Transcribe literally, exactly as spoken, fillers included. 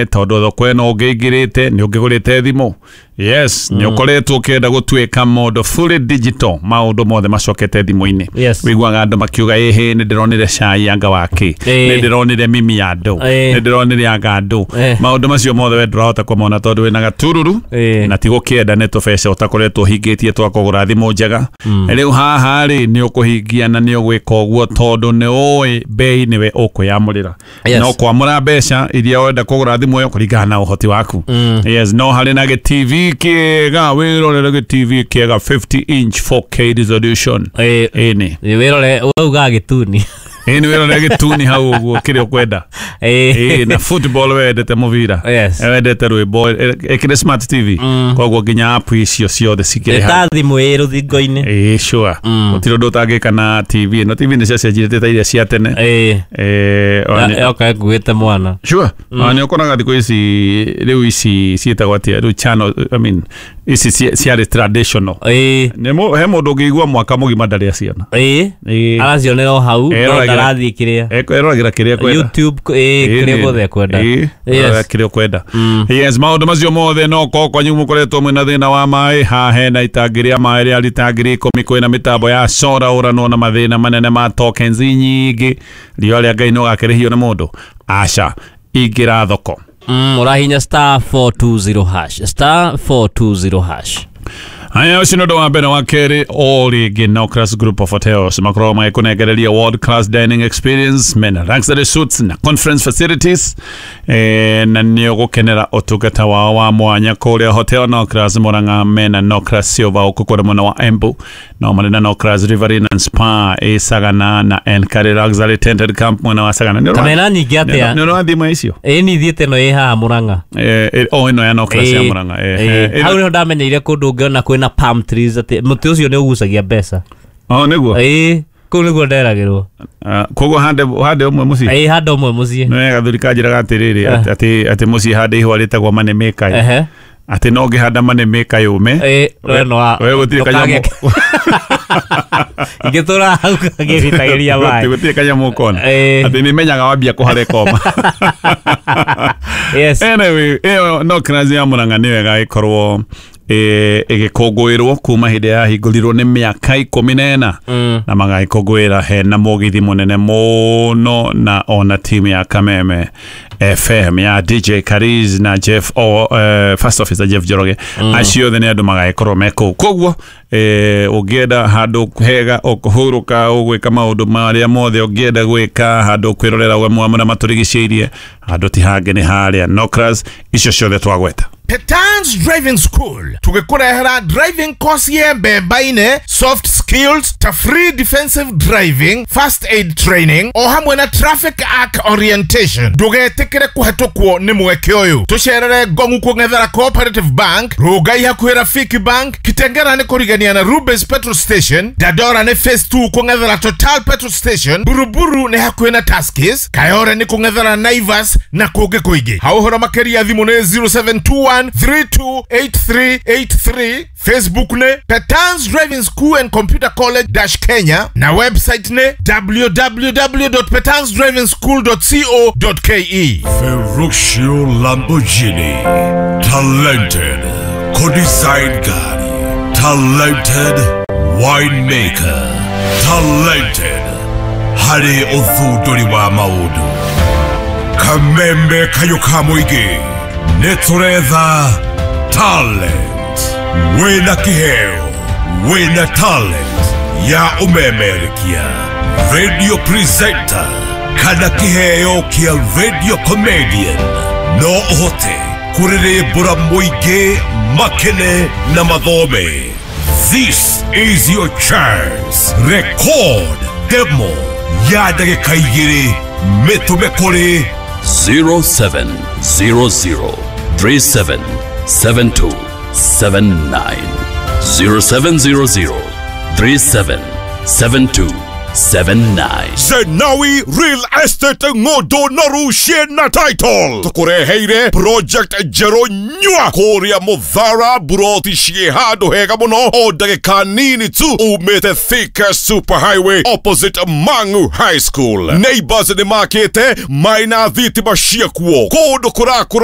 Tondu thoko ĩno ũngĩingĩrĩte nĩ ũngĩgũrĩte thimũ. Yes, nĩ ũkoretwo ũkĩenda gũtuĩka mũndũ fully digital, maũndũ mothe macokete thimũ-inĩ. Yes. Wĩiguaga andũ makiuga, ĩhĩ, nĩ ndĩronire cai anga wake, Ĩĩ. nĩ ndĩronire mimi ya andũ, Ĩĩ. nĩ ndĩronire anga andũ. Ĩĩ. Maũndũ macio mothe we ndũrahota kũmona tondũ wĩna gatururu Ĩĩ. na ti gũkĩenda nĩ tũbeca ũtakoretwo ũhingĩtie twa kũgũra thimũ njega. Rĩu haha rĩ, nĩ ũkũhingia na nĩ ũgwĩka ũguo tondũ nĩ ũĩ bei nĩwe ũkwĩyamũrĩra. Yes. No kwamũra mbeca iria ũrenda kũgũra thimũ ĩyo kũringana na ũhoti waku. Yes, no harĩ na gĩ T V kĩega, wĩrorere gĩ T V kĩega fifty inch four K resolution. Ĩĩ. Ĩni. Wĩrore wauga gĩtuni. Ĩni, wĩrorere gĩtuni hau ũguo kĩrĩa ũkwenda. Ĩĩ. Ĩĩ, na football, wendete mũbira, Yes. wendete rwĩmbo, ĩkĩrĩ smart T V, koguo nginya app icio ciothe cikĩrĩ hau. Ta thimũ ĩ rũthingo-inĩ. Ĩĩ, sure, gũtirĩ ũndũ ũtangĩka na T V ĩno. T V nĩ ciacenjirie ta iria cia tene. Ĩĩ. Eh, ona nĩ- Yoka ĩkuĩte mwana. Sure, mm. Nĩ ũkoraga thikũ ici rĩu ici ciĩtagwo atĩa rĩu, channel, I mean, ici ci- ciarĩ traditional. Ĩĩ. Nĩ mũ- he mũndũ ũngĩigua mwaka mũgima ndarĩ aciona. Ĩĩ. Ĩĩ. Aracionera o hau no Eroragĩra- ndarathiĩ kĩrĩa Eroragĩra kĩrĩa ekwenda. YouTube, ĩĩ, kĩrĩa guothe ekwenda. Ĩĩ, Yes. kĩrĩa ũkwenda. Yes, maũndũ macio mothe no korwo kwanyu mũkoretwo mwĩna thĩna wa maĩ, haha hena itangi rĩa maĩ rĩa rita ngiri ikũmi, kwĩna mĩtambo ya cora ũranwo na mathĩna manene ma tokens nyingĩ. Riũa rĩa Ngai no gakĩrĩhio nĩ mũndũ aca ingĩra thoko. Mm, ũrahinya star four two zero hash, star four two zero hash. Haya, ũcio nĩ ũndũ wa mbere. Wa kerĩ, o rĩngĩ Nocras Group of Hotels makoragwo magĩkũnengereria world class dining experience, mena luxury suites na conference facilities, eh, na nĩ ũgũkenera ũtungata wao wa mwanya kũrĩa Hotel Nocras Murang'a. Mena Nocras Silver ũkũ kũrĩa mwena wa Embu, no marĩ na Nocras Riverina and Spa ĩ Sagana na Enkare Luxury Tented Camp mwena wa Sagana. Nĩ ũra- Kamena nyingĩ atĩa? Nĩ ũrathiĩ imwe icio? Ĩĩ, ni thiĩte ĩno ĩ haha Murang'a. Eh, eh, o ĩno ya Nocras ya Ĩĩ, Murang'a, eh, ĩĩ. eh, Hau nĩho ndamenyeire kũndũ ũngĩona kwĩna palm trees, atĩ mũtĩ ũcio nĩ ũgucagia mbeca. Oh, nĩguo. Ĩĩ, kũu nĩguo nderagĩrwo. Ah, koguo hande hande ũmwe mũciĩ. Ĩĩ, handũ ũmwe mũciĩ. Nĩ gathuri kanjĩraga atĩrĩrĩ, Eh. atĩ atĩ mũciĩ hande ihũa rĩtagwo money maker, Ehe. atĩ no ngĩhanda money maker yũme. Ĩĩ, we no wa- We gũtirĩ kanyamũ. Ingĩtũra hau ngĩritagĩria maĩ. Gũtirĩ kanyamũ ũkona. Ĩĩ. Atĩ nĩ menyaga wambia kũhara ĩkoma. Yes. Anyway, ĩyo no kirathi ya Murang'a nĩyo ĩgagĩkorwo ĩ- ĩgĩkũngũĩrwo kuma hĩndĩ yahingũrirwo nĩ mĩaka ikũmi na ĩna, Mm. na magagĩkũngũĩra hena mũgithi mũnene mũno, na ona timu ya Kameme F M ya D J Kariz na Jeff o, uh, first officer Jeff Njoroge, mm. acio othe nĩ andũ magagĩkorwo me kũu. Koguo eh, ũngĩenda handũ hega ũkũhurũka, ũgwĩka maũndũ marĩa mothe ũngĩenda gwĩka, handũ kwĩrorera we marĩa matũrigicĩirie, handũ ti hangĩ nĩ harĩa Nocras icio ciothe twagweta. Petans Driving School tũgĩkũrehera driving course ye mbemba-inĩ, soft skills ta free defensive driving, first aid training o hamwe na traffic act orientation. Ndũgetĩkĩre kũhetũkwo nĩ mweke ũyũ. Tũcerere Ngongu kũng'ethera Cooperative Bank, Rũngai hakuhĩ Rafiki Bank, Kitengera nĩ kũrigania na Rubis Petrol Station, Dandora nĩ phase two kũng'ethera Total Petrol Station, Buruburu nĩ hakuhĩ na Tuskys, Kayore nĩ kũng'ethera Naivas na kũngĩ kũingĩ. Hau ũhoro makĩria thimũ nĩ zero seven two one three two eight three eight three, Facebook nĩ Petans Driving School and Computer College dash Kenya na website nĩ w w w dot petansdrivingschool dot co dot k e. Ferruccio Lamborghini. Talented co-design gari. Talented winemaker. Talented harĩ ũthundũri wa maũndũ. Kameme kayũ ka mũingĩ nĩ tũretha talent. Wĩna kĩheo, wĩna talent ya ũmemerekia, radio presenter kana kĩheo kĩa radio comedian, no ũhote kũrĩrĩmbũra mũingĩ makene na mathome. This is your chance. Record demo ya ndagĩka igĩrĩ, mĩtũme kũrĩ zero seven zero zero three seven seven two seven nine, zero seven zero zero three seven seven two. seven nine. Zenawi Real Estate ng'ondo noru ciĩna title tũkũreheire project njerũ nyua kũrĩa Mũthara, buroti ciĩ handũ hega mũno, o ndagĩka nini tu umĩte Thika Super Highway opposite Mangu High School. Neighbors nĩ makĩte maina thitima ciakuo kũndũ kũrakũra.